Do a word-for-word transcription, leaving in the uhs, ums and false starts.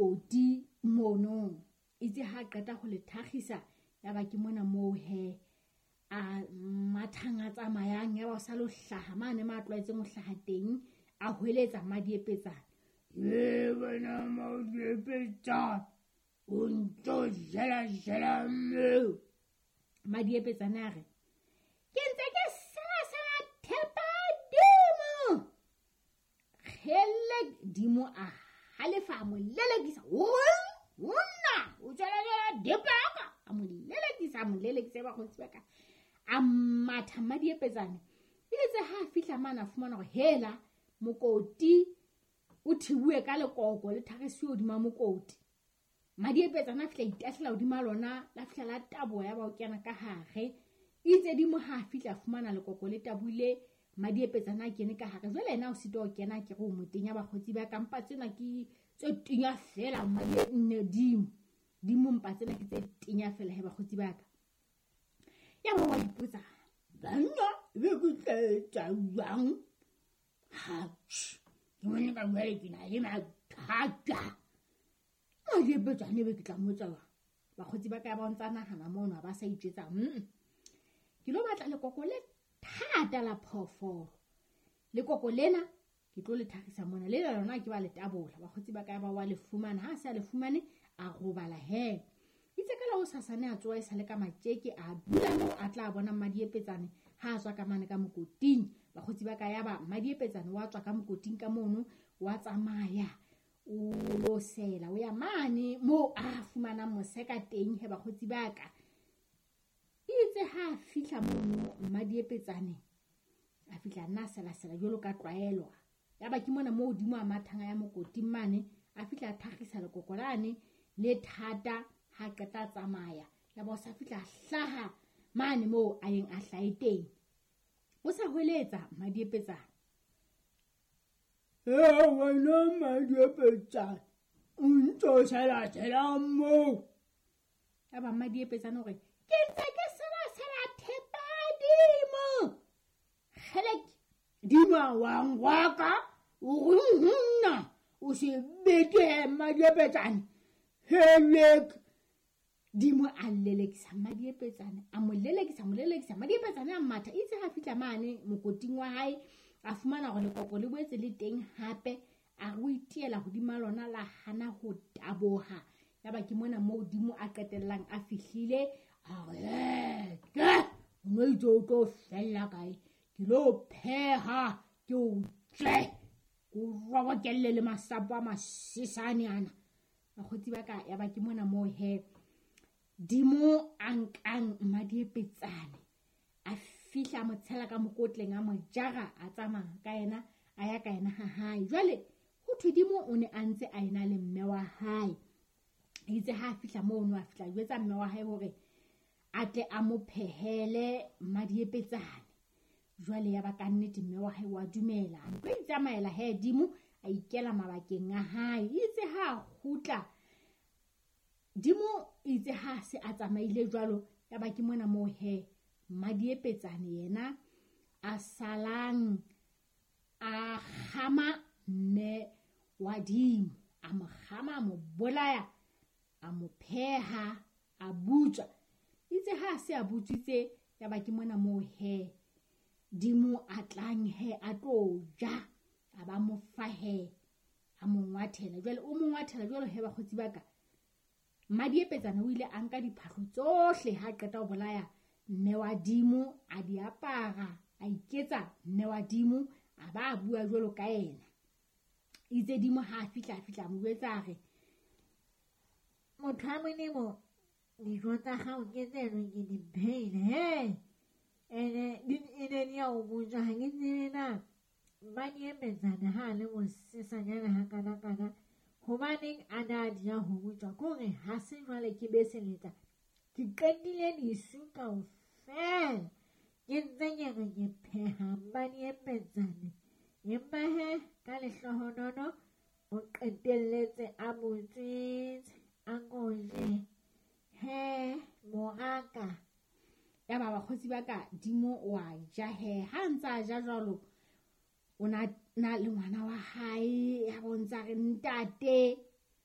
mokoti mono. Itse ha qeta ho le thakgisa ya ba ke mona moo he a mathang a tsamayang ya ba o sa lo hlaha mane ma tlwaetseng ho hlaha teng, a hweletsa Madiepetsane. E wena Madiepetsane, o ntso jela jela mme. Madiepetsane a re, ke ntse ke sela sela thepa dimo. Kgele dimo a halefa a mo lelekisa. Nna o jela jela thepa ya ka. A mo lelekisa, a mo lelekisa bakgotsi ba ka. A matha Madiepetsane. Itse ha a fihla mane a fumana hore hela mokoti o thibuwe ka lekoko le thakgisiwe hodima mokoti. Madiepetsane a fihla itahlela hodima lona, la fihla la taboha ya ba o kena ka hare. Itse dimo ha a fihla a fumana lekoko le tabohile, Madiepetsane a kene ka hare. Jwale yena o sitwa ho kena, ke re o motenya bakgotsi ba ka, mpa tsena ke tse tenya fela nne dimo. Dimo mpa tsena ke tse tenya fela he bakgotsi ba ka. Ya ba wa ipotsa, banna be ke tla etsa jwang? Ha, ke mone ka jwale ke na le mathata. Madiepetsane be ke tla mmotsa jwang? Bakgotsi ba ka ba ntsa nahana mono, ha ba sa itjwetsa, mm. Ke lo batla lekoko le thata la phoofolo. Lekoko lena ke tlo le thakgisa mona. Le lona ke ba le tabola. Bakgotsi ba ka ba wa le fumana. Ha se a le fumane, a robala he. Itse ka la hosasane a tsoha e sale ka matjeke, a dula moo a tla bona Madiepetsane ha a tswa ka mane ka mokoting. Bakgotsi ba ka ya ba Madiepetsane wa tswa ka mokoting ka mono, wa tsamaya o lo sela, o ya mane moo a fumanang moseka teng he bakgotsi ba ka. Itse ha a fihla mono Madiepetsane, a fihla nna sela sela jwalo ka tlwaelo. Ya ba ke mona moo hodimo a mathang a ya mokoting mane, a fihla a thakgisa lekoko lane le thata. Ha qeta tsamaya ya ba o sa fihla hlaha mane moo a yeng a hlahe teng. O sa hweletsa Madiepetsane. E wena Madiepetsane, o ntso sela sela moo. Ya ba Madiepetsane hore ke ntse ke sela sela thepa dimo. Kgelek dimo wa ngwaka o re nna o se bete Madiepetsane. Helek dimo a lelekisa Madiepetsane, a mo lelekisa, mo lelekisa. Madiepetsane a matha. Itse ha fihla mane mokoting wa hae, a fumana hore lekoko le boetse le teng hape. A re o itiela hodima lona la hana ho taboha. Ya ba ke mona moo dimo a qetellang a fihlile. A re, ke o no itse o tlo fella kae? Ke lo pheha, ke o tle, ke o robokelle le masapo a masesane ana. Bakgotsi ba ka, ya ba ke mona moo he dimo a nkang Madiepetsane, a fihla a mo tshela ka mokotleng, a mo jara, a tsamaya ka yena, a ya ka yena ha hae. Jwale ho thwe dimo o ne a ntse a ena le mme wa hae. Itse ha a fihla mono, a fihla jwetsa mme wa hae hore a tle a mo phehele Madiepetsane. Jwale ya ba ka nnete mme wa hae wa dumela. A ntlo itsamaela he dimo, a ikela mabakeng a hae. Itse ha a kgutla dimo, itse ha se a tsamaile jwalo, ya ba ke mona moo he Madiepetsane yena a salang a kgama mme wa dimo, a mo kgama, a mo bolaya, a mo pheha, a butswa. Itse ha se a butswitse, ya ba ke mona moo he dimo a tlang he a tlo ja, a ba mo fa he, a mo ngwathela. Jwale o mo ngwathela jwalo he bakgotsi ba ka. Madiepetsane o ile a nka diphahlo tsohle ha qeta ho bolaya mme wa dimo, a di apara, a iketsa mme wa dimo, a ba a bua jwalo ka yena. Itse dimo ha a fihla, a fihla a mo jwetsa a re, motho wa Modimo, dijo tsa hao ke tseno ke di phehile, he. Ene di ene di a o botsa, ha ke tsebe na Madiepetsane ha a le mosesanyana hakana-kana, hobaneng a na a di ya ho botswa? Ke hore ha se jwale ke beseletsa, ke qetile disu kaofela, ke ntse ke re ke pheha Madiepetsane. Empa he ka lehlohonolo o qetelletse a botswitse, a koje. He moraka. Ya ba bakgotsi ba ka, dimo wa ja he. Ha ntse a ja jwalo, o na na le ngwana wa hae, ya bo ntsa re ntate.